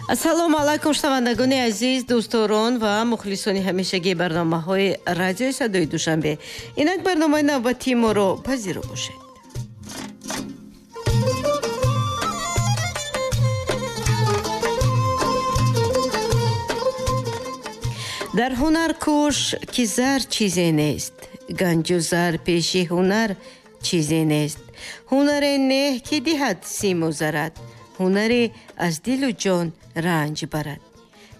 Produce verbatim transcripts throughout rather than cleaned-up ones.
Ассалому алайкум, шунавандагони азиз, дӯстдорон ва мухлисони ҳамешагии барномаҳои радиои садои Душанбе. Инак барномаи навбатии моро пазиро бошед. Дар ҳунар кӯш, ки зар чизе нест, ганҷу зар пеши ҳунар чизе нест. Ҳунаре неҳ, ки диҳад симу зарат, ҳунаре аз дилу ҷон ранҷ барад.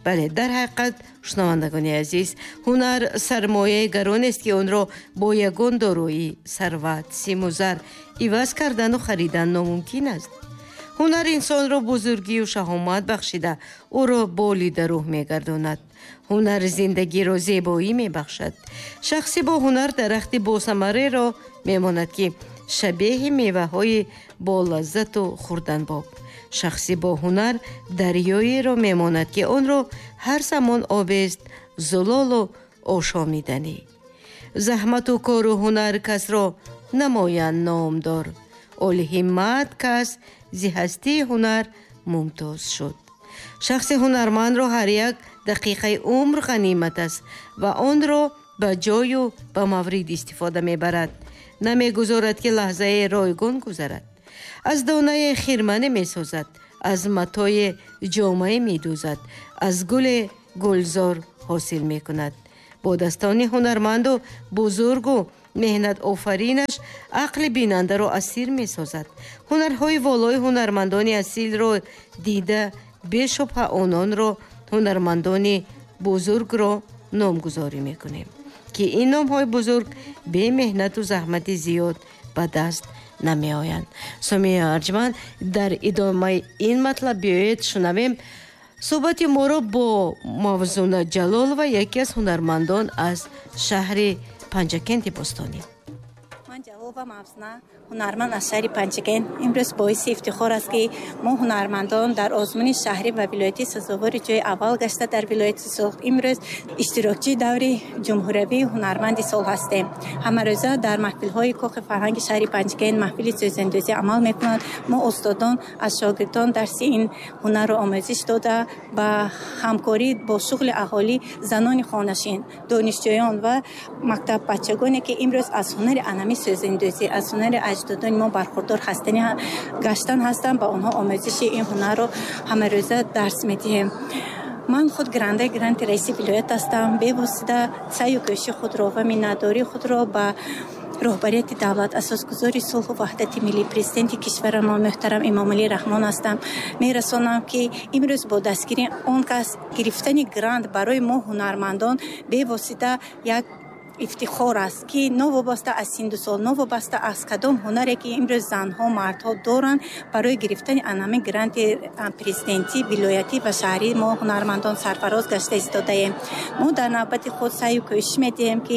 Бале, дар ҳақиқат, шунавандагони азиз, ҳунар сармояи гаронест, ки онро бо ягон дороӣ, сарват, симу зар иваз кардану харидан номумкин аст. Ҳунар инсонро бузургию шаҳомат бахшида, ӯро болида рӯҳ мегардонад. Ҳунар зиндагиро зебоӣ мебахшад. Шахси бо ҳунар дарахти босамареро мемонад, ки шабеҳи меваҳои болаззату хурданбоб. Шахси бо ҳунар дарёеро мемонад, ки онро ҳар замон обест зулолу ошомиданӣ. Заҳмату кору ҳунар касро намоянд номдор. Олиҳиммат кас зи ҳастии ҳунар мумтоз шуд. Шахси ҳунармандро ҳар як дақиқаи умр ғанимат аст ва онро ба ҷою ба маврид истифода мебарад. Намегузорад, ки лаҳзаи ройгон гузарад. Аз донае хирмане месозад, аз матое ҷомае медӯзад, аз гуле гулзор ҳосил мекунад. Бо дастони ҳунарманду бузургу меҳнатофаринаш ақли бинандаро асир месозад. Ҳунарҳои волои ҳунармандони асилро дида, бешубҳа ононро ҳунармандони бузургро номгузорӣ мекунем, ки ин номҳои бузург бемеҳнату заҳмати зиёд ба даст намеоянд. Сомия Арҷманд, дар идомаи ин матлаб биёед шунавем суҳбати моро бо Мавзуна Ҷалолова, яке аз ҳунармандон аз шаҳри Панҷакенти бостонӣ. Ман Ҷалолова Мавзуна, ҳунарманд аз шаҳри Панҷакент. Имрӯз боиси ифтихор аст, ки мо ҳунармандон дар озмуни шаҳрӣ ва вилоятӣ сазовори ҷои аввал гашта дар вилояти Суғд имрӯз иштирокчии даври ҷумҳуриявии ҳунарманди сол ҳастем. Ҳамарӯза дар маҳфилҳои кохи фарҳанги шаҳри Панҷакент маҳфили сӯзандӯзӣ амал мекунанд. Мо устодон аз шогирдон дарси ин ҳунарро омӯзиш дода, ба ҳамкорӣ бо шуғли аҳолӣ, занони хонашин, донишҷӯён ва мактаббачагоне, ки имрӯз аз ҳунари анами сӯзандӯзӣ, аз ҳунари аҷдодони мо бархурдор ҳастани гаштан ҳастанд, ба онҳо омӯзиши ин ҳунарро ҳамарӯза дарс медиҳем. Ман худ гирандаи гранти раиси вилоят ҳастам. Бевосита саъю кӯшиши худро ва миннатдории худро ба роҳбарияти давлат, асосгузори сулҳу ваҳдати миллӣ, президенти кишварамон муҳтарам Эмомалӣ Раҳмон ҳастам. Мерасонам, ки имрӯз бо дастгирии он кас гирифтани грант барои мо ҳунармандон бевосита як ифтихор аст, ки новобаста аз синну сол, новобаста аз кадом ҳунаре, ки имрӯз занҳо, мардҳо доранд, барои гирифтани анами гранти президентӣ, вилоятӣ ва шаҳрӣ мо ҳунармандон сарфароз гашта истодаем. Мо дар навбати худ саъю кӯшиш медиҳем, ки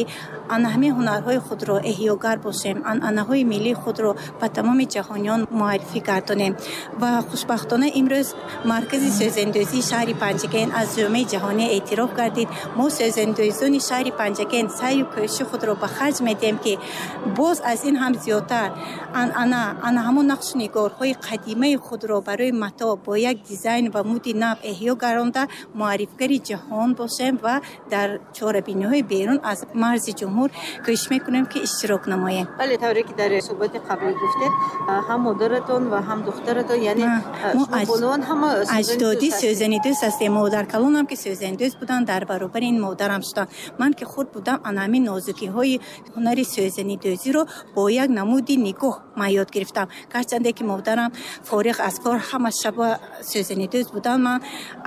ана ҳамин ҳунарҳои худро эҳёгар бошем, анъанаҳои миллии худро ба тамоми ҷаҳониён муаррифӣ гардонем. Ва хушбахтона имрӯз маркази сӯзандӯзии шаҳри Панҷакент аз ҷомеаи ҷаҳонӣ эътироф гардид. Мо сӯзандӯзони шаҳри Панҷакент саъю кӯшиши худро ба харҷ медиҳем, ки боз аз ин ҳам зиёдтар анъана, ана ҳамон нақшу нигорҳои қадимаи худро барои матоъ бо як дизайн ва муди нав эҳё гардонда, муаррифгари ҷаҳон бошем ва дар чорабиниҳои берун аз марзи ҷумҳур кӯшиш мекунем, ки иштирок намоем. Бале, тавре ки дар суҳбати қаблӣ гуфтед, ҳам модаратон ва ҳам духтаратон, яъне бонувон ҳама аҷдодӣ сӯзанидӯз ҳастем. Модаркалонам ки сӯзанидӯз буданд, дар баробари ин модарам шуданд. Ман ки хурд будам, ана ҳамин нозукиҳои ҳунари сӯзанидӯзиро бо як намуди нигоҳ ман ёд гирифтам. Гарчанде ки модарам фориғ аз кор ҳама шаба сӯзанидӯз буданд, ман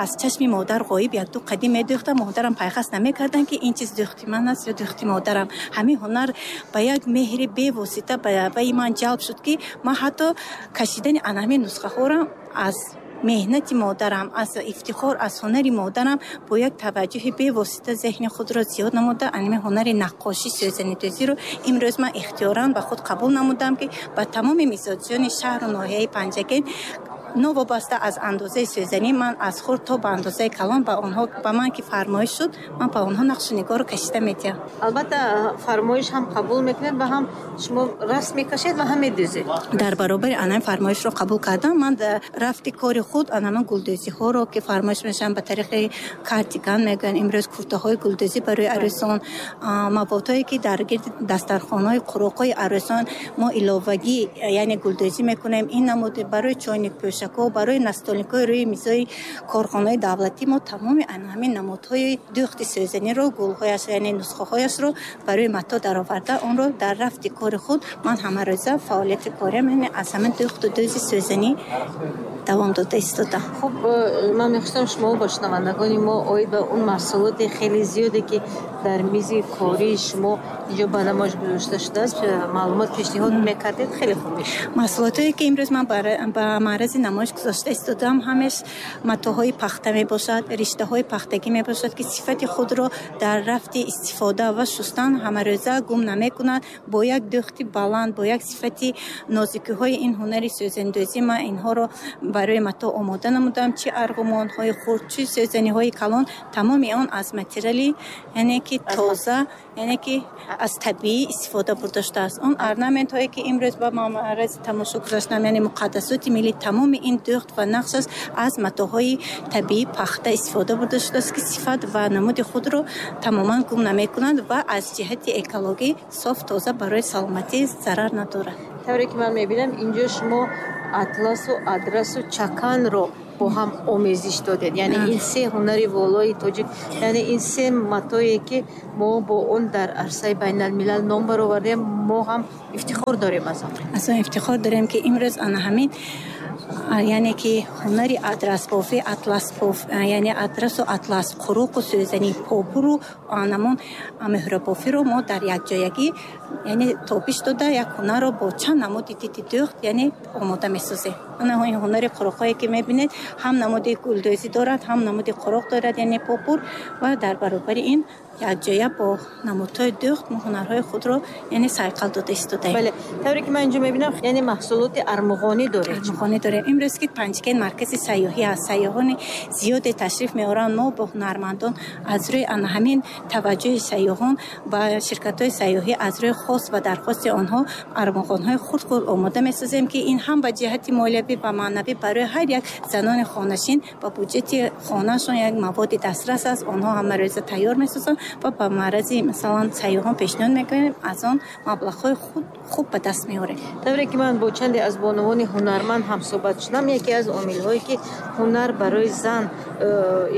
аз чашми модар ғоиб якду қадим медӯхтам. Модарам пайхас намекарданд, ки ин чиз дӯхти ман аст ё дӯхти модарам. Ҳамин ҳунар ба як меҳри бевосита ба ман ҷалб шуд, ки ман ҳатто кашидани ана ҳамин нусхаҳоро аз меҳнати модарам, аз ифтихор аз ҳунари модарам бо як таваҷҷӯҳи бевосита зеҳни худро зиёд намуда, анами ҳунари наққошӣ, сӯзанидӯзиро имрӯз ман ихтиёран ба худ қабул намудам, ки ба тамоми мизоҷони шаҳру ноҳияи Панҷакент Новобаста аз андозаи сӯзанӣ, ман аз хурд то ба андозаи калон ба онҳо, ба ман ки фармоиш шуд, ман ба онҳо нақшу нигорро кашида медиҳам. Албатта фармоиш ҳам қабул мекунед ва ҳам шумо расм мекашед ва ҳам медӯзед. Дар баробари ана фармоишро қабул кардам, ман дар рафти кори худ ана гулдӯзиҳоро ки фармоиш мешаванд ба тариқи картиган мегӯянд, имрӯз куртаҳои гулдӯзӣ барои арӯсон, маводҳое ки дар гирди дастархонаҳои қуроқҳои арӯсон мо иловагӣ яъне гулдӯзӣ мекунем, ин намуд барои чойникпӯшакҳо, барои настолникҳои рӯи мизои корхонаҳои давлатӣ мо тамоми ҳамин намудҳои дӯхти сӯзаниро, гулҳояш яъне нусхаҳояшро барои матоъ дароварда, онро дар рафти кори худ ман ҳамарӯза фаъолияти кориам яъне аз ҳамин дӯхту дӯзи сӯзанӣ давом дода истодам. Хуб, ман мехостам шумо бо шунавандагони мо оид ба он маҳсулоти хеле зиёде ки дар мизи кории шумо инҷо ба намоиш гузошта шудааст маълумот пешниҳод мекардед, хеле хуб мешуд. Маҳсулотое ки имрӯз ман ба маърази намоиш гузошта истодам, ҳамеш матоъҳои пахта мебошад, риштаҳои пахтагӣ мебошад ки сифати худро дар рафти истифода ва шустан ҳамарӯза гум намекунад. Бо як дӯхти баланд, бо як сифати нозикиҳои ин ҳунари сӯзандӯзӣ ман инҳоро барои матоъ омода намудам. Чи арғумонҳои хурд, чи сӯзаниҳои калон, тамоми он аз материали яъне ки тоза, яъне ки аз табиӣ истифода бурда шудааст. Он орнаментҳое ки имрӯз ба маърази тамошо гузоштам, яъне муқаддасоти миллӣ, тамоми ин дӯхт ва нақш аст аз матоъҳои табиӣ пахта истифода бурда шудааст ки сифат ва намуди худро тамоман гум намекунанд ва аз ҷиҳати экологӣ соф тоза барои саломатӣ зарар надорад. Тавре ки ман мебинам, инҷо шумо атласу адрасу чаканро бо ҳам омезиш додед. Яъне ин се ҳунари волои тоҷик, яъне ин се матое ки мо бо он дар арсаи байналмилал ном баровардем, мо ҳам ифтихор дорем аз он. Аз он ифтихор дорем ки имрӯз ана ҳамин яъне ки ҳунари адрасбофӣ, атласбоф, яъне адрасу атлас, қуруқу сӯзанӣ, попуру анамон меҳрабофиро мо дар якҷоягӣ яъне тобиш дода як ҳунарро бо чанд намуди диди дӯхт яъне омода месозем. Ана ин ҳунари қуруқҳое ки мебинед, ҳам намуди гулдӯзӣ дорад, ҳам намуди қуруқ дорад, яъне попур, ва дар баробари ин якҷоя бо намудҳои дӯхт мо ҳунарҳои худро яъне сайқал дода истодаем. Бале, тавре ки ман инҷо мебинам, яъне маҳсулоти армуғонӣ доред. Армуғонӣ дорем. Имрӯз ки Панҷакент маркази сайёҳӣ аст, сайёҳони зиёде ташриф меоранд. Мо бо ҳунармандон аз рӯи ана ҳамин таваҷҷӯҳи сайёҳон ба ширкатҳои сайёҳӣ аз рӯи хост ва дархости онҳо армуғонҳои хурд-хурд омода месозем ки ин ҳам ба ҷиҳати молиявӣ ва маънавӣ барои ҳар як занони хонашин ба буҷети хонаашон як маводи дастрас аст. Онҳо ҳамарӯза тайёр месозанд ва ба маърази масалан сайёҳон пешниҳод мекунем, аз он маблағҳои худ хуб ба даст меорем. Тавре ки ман бо чанде аз бонувони ҳунарманд ҳамсӯҳбат шудам, яке аз омилҳое ки ҳунар барои зан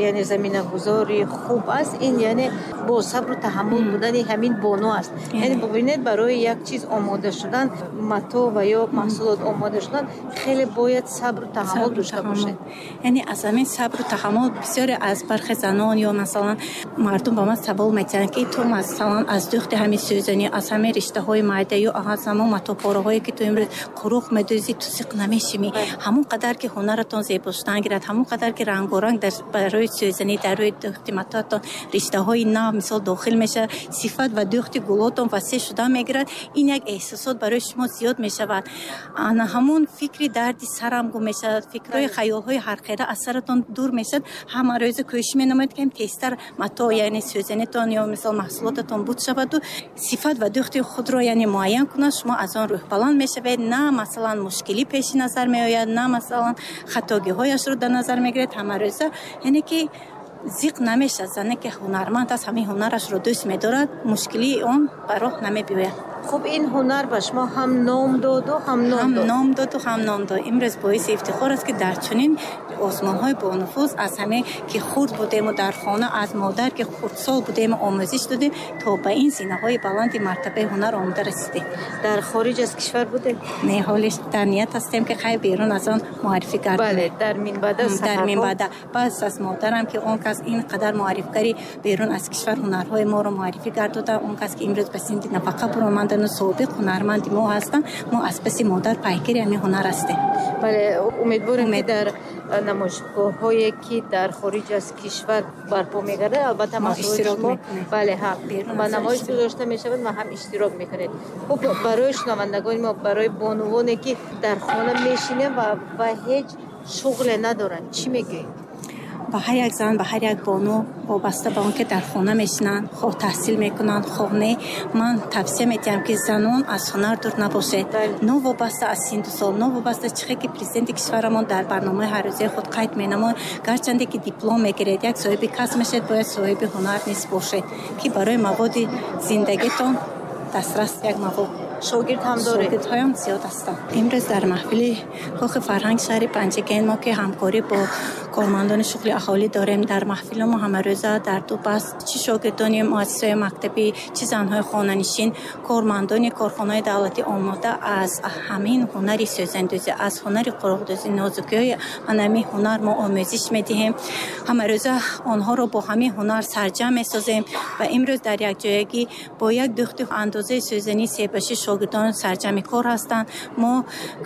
яъне заминагузори хуб аст, ин яъне бо сабру таҳаммул будани ҳамин бону аст. Яъне бубинед, барои як чиз омода шудан, матоъ ва ё маҳсулот омода шудан, хеле бояд сабру таҳаммул дошта бошед. Яъне аз ҳамин сабру таҳаммул бисёре аз бархе занон ё масалан мардум ба ман савол метиҳанд ки ту масалан аз дӯхти ҳамин сӯзанӣ, аз ҳамин риштаҳои майда ё аз ҳамон матоъпораҳое ки ту имрӯз қуруқ медӯзӣ, ту сиқ намешимӣ. Ҳамон қадар ки ҳунаратон зебо шудан гирад, ҳамон қадар ки рангоранг дар барои сӯзанӣ, дар рӯи дӯхти матоъатон риштаҳои нав мисол дохил мешавад, сифат ва дӯхти гулотон васеъ шудан мегирад. Ин як эҳсосот барои шумо зиёд мешавад. Ана ҳамон фикри дарди сарам гум мешавад, фикрҳои хаёлҳои ҳархела аз саратон дур мешавад. Ҳама рӯза кӯшиш менамоед ки тезтар матоъ яъне сӯзанитон ё мисол маҳсулотатон буд шаваду сифат ва дӯхти худро яъне муайян кунад. Шумо аз он рӯҳбаланд мешавед, на масалан мушкилӣ пеши назар меояд, на масалан хатогиҳояшро дар назар мегиред. Ҳама рӯза яъне ки зиқ намешавад. Зане ки ҳунарманд аст, ҳамин ҳунарашро дӯст медорад, мушкилии он ба роҳ намебиёяд. Хуб, ин ҳунар ба шумо ҳам ном доду, ҳам ном дод. Ҳам ном доду, ҳам ном дод. Имрӯз боиси ифтихор аст ки дар чунин озмонҳои бонуфуз аз ҳаме ки хурд будему дар хона аз модар ки хурдсол будему омӯзиш додем, то ба ин зинаҳои баланди мартабаи ҳунар омода расидем. Дар хориҷ аз кишвар будем? Не, ҳолиш дар ният ҳастем ки хай берун аз он муаррифӣ гардем. Бале, дар минбаъда дар минбаъда. Пас аз модарам ки он кас ин қадар муаррифгари берун аз кишвар ҳунарҳои моро муаррифӣ гардода, он кас ки имрӯз ба синни нафақа баромадану собиқ ҳунарманди мо ҳастанд, мо аз паси модар пайкири ҳамин ҳунар ҳастем. Бале, умедворем ки дар намоишгоҳҳое ки дар хориҷ аз кишвар барпо мегардад, албатта маҳсулоти шумо бале, ҳа, ба намоиш гузошта мешавад ва ҳам иштирок мекунед. Хуб, барои шунавандагони мо, барои бонувоне ки дар хона мешинанд ва ва ҳеҷ шуғле надоранд, чӣ мегӯед? Ба ҳар як зан, ба ҳар як бону, вобаста ба он ки дар хона мешинанд, хоҳ таҳсил мекунанд, хоҳ не, ман тавсия медиҳам, ки занон аз ҳунар дур набошед. Новобаста аз синну сол, новобаста чихе ки президенти кишварамон дар барномаи ҳаррӯзаи худ қайд менамояд, гарчанде ки диплом мегиред, як соҳиби касб мешавед, бояд соҳиби ҳунар низ бошед, ки барои маводи зиндагитон дастрас як мавод. Шогирд ҳам доред? Шогирдҳоям зиёд ҳастанд. Имрӯз дар маҳфили Кохи фарҳанг шаҳри Панҷакент мо, ки ҳамкорӣ бо кормандони шуғли аҳолӣ дорем, дар маҳфили мо ҳамарӯза дар ду баст чӣ шогирдони муассисаҳои мактабӣ, чӣ занҳои хонанишин, кормандони корхонаҳои давлатӣ омода аз ҳамин ҳунари сӯзандӯзӣ, аз ҳунари қуроқдӯзӣ, нозукиҳои ҳамин ҳунар мо омӯзиш медиҳем. Ҳамарӯза онҳоро бо ҳамин ҳунар сарҷамъ месозем ва имрӯз дар якҷоягӣ бо як духти андозаи сӯзанӣ себашӣ шогирдон сарҷамъи кор ҳастанд. Мо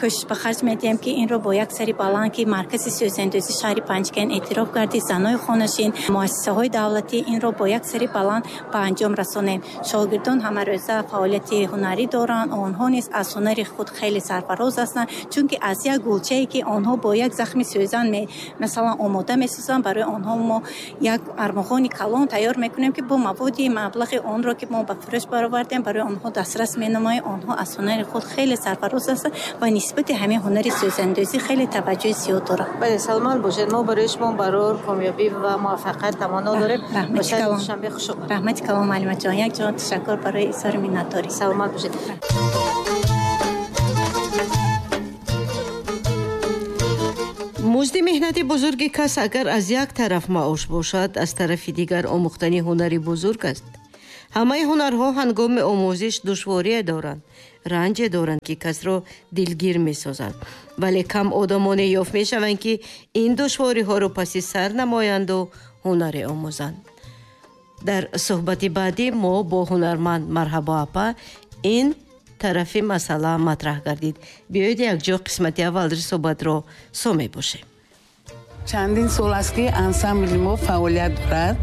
кӯшиш ба харҷ медиҳем, ки инро бо як сари баланд, ки маркази сӯзандӯзӣ шаҳри Панҷакент эътироф гардид, занҳои хонашин, муассисаҳои давлатӣ инро бо як сари баланд ба анҷом расонем. Шогирдон ҳамарӯза фаъолияти ҳунарӣ доранд, онҳо низ аз ҳунари худ хеле сарфароз ҳастанд, чунки аз як гулчае, ки онҳо бо як захми сӯзан масалан омода месозанд, барои онҳо мо як армуғони калон тайёр мекунем, ки бо маводи маблағи онро, ки мо ба фурӯш баровардем, барои онҳо дастрас менамоем. Онҳо аз ҳунари худ хеле сарфароз ҳастанд ва нисбати ҳамин ҳунари сӯзандӯзӣ хеле таваҷҷӯҳи зиёд доранд. Бале, саломат бошед. Мо барои шумо барор, комёбӣ ва муваффақият таманно дорем. Ба шаҳри Душанбе хуш омадед. Раҳмати калон, муаллимаҷон. Як ҷон ташаккур барои изҳори миннатдорӣ. Саломат бошед. Музди меҳнати бузурги кас агар аз як тараф маош бошад, аз тарафи дигар омӯхтани ҳунари бузург аст. Ҳамаи ҳунарҳо ҳангоми омӯзиш душворие доранд, ранҷе доранд, ки касро дилгир месозанд. Вале кам одамоне ёфт мешаванд, ки ин душвориҳоро паси сар намоянду ҳунаре омӯзанд. Дар суҳбати баъдӣ мо бо ҳунарманд Марҳабо апа ин тарафи масъала матраҳ гардид. Биёед якҷо қисмати аввалри суҳбатро со мебошем. Чандин сол аст, ки ансамбли мо фаъолият дорад.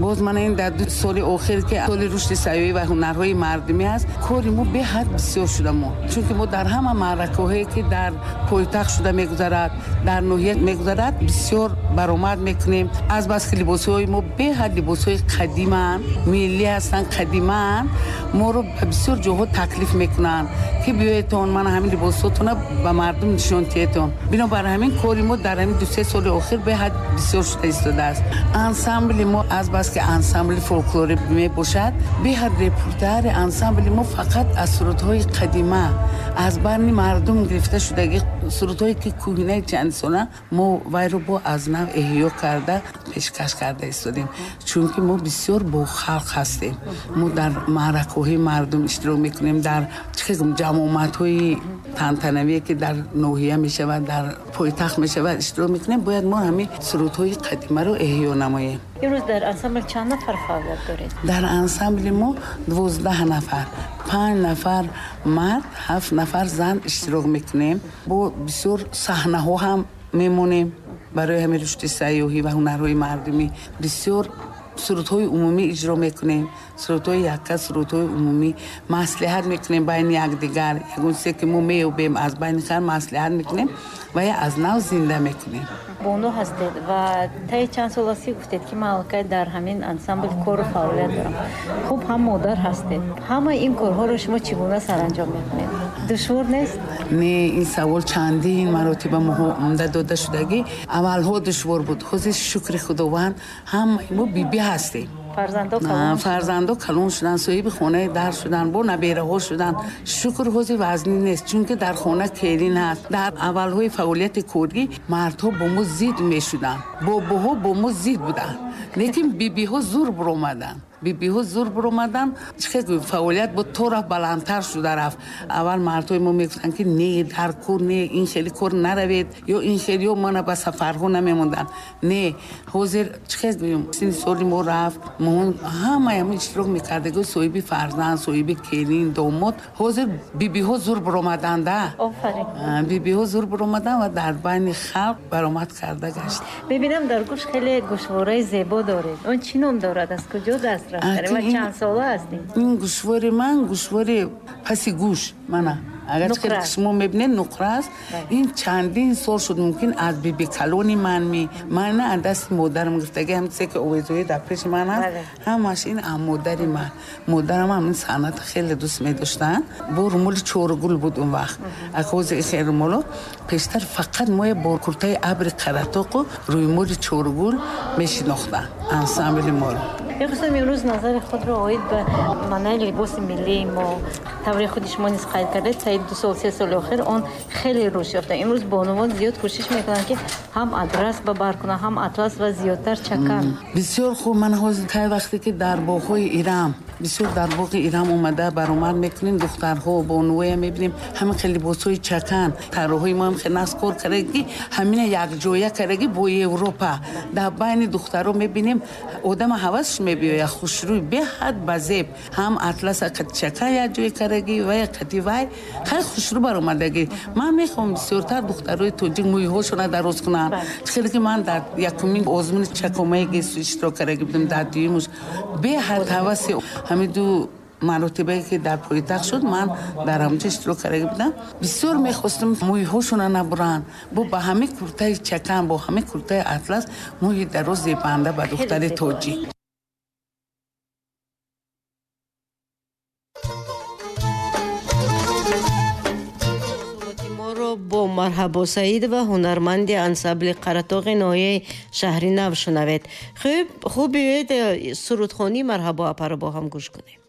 Боз мана ин дар ду соли охир, ки соли рушди сайёҳӣ ва ҳунарҳои мардумӣ аст, кори мо беҳад бисёр шуда мо. Чунки мо дар ҳама маъракаҳое, ки дар пойтахт шуда мегузарад, дар ноҳия мегузарад, бисёр баромад мекунем. Аз бас ки либосҳои мо беҳад либосҳои қадиманд, миллӣ ҳастанд, қадиманд, моро ба бисёр ҷоҳо таклиф мекунанд, ки биёедтон, мана ҳамин либосҳотона ба мардум нишон диҳедтон. Бинобар ҳамин кори мо дар ҳамин ду се соли охир беҳад бисёр шуда истодааст. Ансамбли мо аз бас ки ансамбли фолклорӣ мебошад, беҳад репертуари ансамбли мо фақат аз сурудҳои қадима, аз барни мардум гирифта шудаги сурудҳое, ки кӯҳнаи чандсола, мо вайро бо аз нав эҳё карда пешкаш карда истодем. Чунки мо бисёр бо халқ ҳастем. Мо дар маъракаҳои мардум иштирок мекунем, дар чӣ ҷамъомадҳои тантанавие, ки дар ноҳия мешавад, дар пойтахт мешавад, иштирок мекунем. Бояд мо ҳамин сурудҳои қадимаро эҳё намоем. Имрӯз дар ансамбл чанд нафар фаъолият доред? Дар ансамбли мо дувоздаҳ нафар, панҷ нафар мард, ҳафт нафар зан иштирок мекунем. Бо бисёр саҳнаҳо ҳам мемонем. Барои ҳамин рушди сайёҳӣ ва ҳунарҳои мардумӣ бисёр сурудҳои умумӣ иҷро мекунем, сурудҳои якка, сурудҳои умумӣ маслиҳат мекунем байни якдигар. Ягон чизе, ки мо меёбем, аз байни хар маслиҳат мекунем ва я аз нав зинда мекунем. Бону ҳастед ва таи чанд сол аст, ки гуфтед, ки ман аллакай дар ҳамин ансамбл кору фаъолият дорам. Хуб, ҳам модар ҳастед. Ҳамаи ин корҳоро шумо чӣ гуна саранҷом мекунед? Душвор нест? Не, ин савол чандин маротиба моҳо дода шудагӣ. Аввалҳо душвор буд, ҳозир шукри Худованд ҳамаи мо бибӣ ҳастем. Фарзандо калон шуданд, соҳиби хонаи дар шуданд, бо набераҳо шуданд. Шукр, ҳозир вазнин нест, чунки дар хона келин ҳаст. Дар аввалҳои фаъолияти корӣ мардҳо бо мо зид мешуданд, бобоҳо бо мо зид буданд, лекин бибиҳо зур баромаданд. Бибиҳо зур баромаданд. Чӣ гӯем, фаъолият бо то рафт баландтар шуда рафт. Аввал мардҳои мо мегуфтанд, ки не, дар кор не, ин хеле кор наравед, ё ин хеле, ё мана ба сафарҳо намемонданд. Не, ҳозир чӣ гӯем, синни соли мо рафт, мо ҳамаи ҳамин иштирок мекардагӣ, соҳиби фарзанд, соҳиби келин, домод. Ҳозир бибиҳо зур баромаданда. Бибиҳо зур баромаданд ва дар байни халқ баромад карда гашт. Мебинам, дар гӯш хеле гӯшвораи зебо доред. Он чӣ ном дорад, аз куҷо даст ва чанд сола ҳастед? Ин гӯшвори ман гӯшвори паси гӯш мана. Агар ки шумо мебинед, нуқра аст. Ин чандин сол шуд, мумкин аз биби калони ман ми ман аз дасти модарам гирифтагӣ. Ҳам чизе ки овезои дар пеши ман аст, ҳамаш ин аз модари ман. Модарам ҳамин санъат хеле дӯст медоштанд. Бо румоли чоргул буд он вақт. Акози хел румоло пештар фақат моя бо куртаи абри Қаратоқу рӯймоли чоргул мешинохтанд ансамбли моро. Мехостам имрӯз назари худро оид ба маънаи либоси миллии мо, тавре худи шумо низ қайд кардед, таи ду сол, се соли охир он хеле рушд ёфта. Имрӯз бонувон зиёд кӯшиш мекунанд, ки ҳам адрас ба бар кунанд, ҳам атлас ва зиёдтар чакан. Бисёр хуб. Ман ҳозир тай вақте ки дар боғҳои Ирам, бисёр дар боғи Ирам омада баромад мекунем, духтарҳо, бонувоя мебинем, ҳамин хел либосҳои чакан. Тарроҳои мо ҳам хел нағз кор кардаги, ҳамина якҷоя кардаги бо Европа. Дар байни духтарҳо мебинем, одама ҳавасш мебиёяд, хушрӯй, беҳад ба зеб, ҳам атласа қати чакан якҷоя кардаги ва қати вай хеле хушрӯ баромадагӣ. Ман мехоҳам бисёртар духтарои тоҷик мӯйҳошона дароз кунанд. Хеле ки ман дар якумин озмуни чакомаи гесу иштирок кардаги будем, дар дуюмуш беҳад ҳаваси ҳамин ду маротибае ки дар пойтахт шуд, ман дар ҳамҷо иштирок карда будам. Бисёр мехостам мӯйҳошона набуранд, бо ба ҳамин куртаи чакан, бо ҳамин куртаи атлас, мӯи дароз зебанда ба духтари тоҷик. Бо Марҳабо Саидова, ҳунарманди ансамбли Қаратоғи ноҳияи Шаҳри Нав шунавед. Хуб, хуб, биёед, сурудхонии Марҳабо апаро бо ҳам гӯш кунем.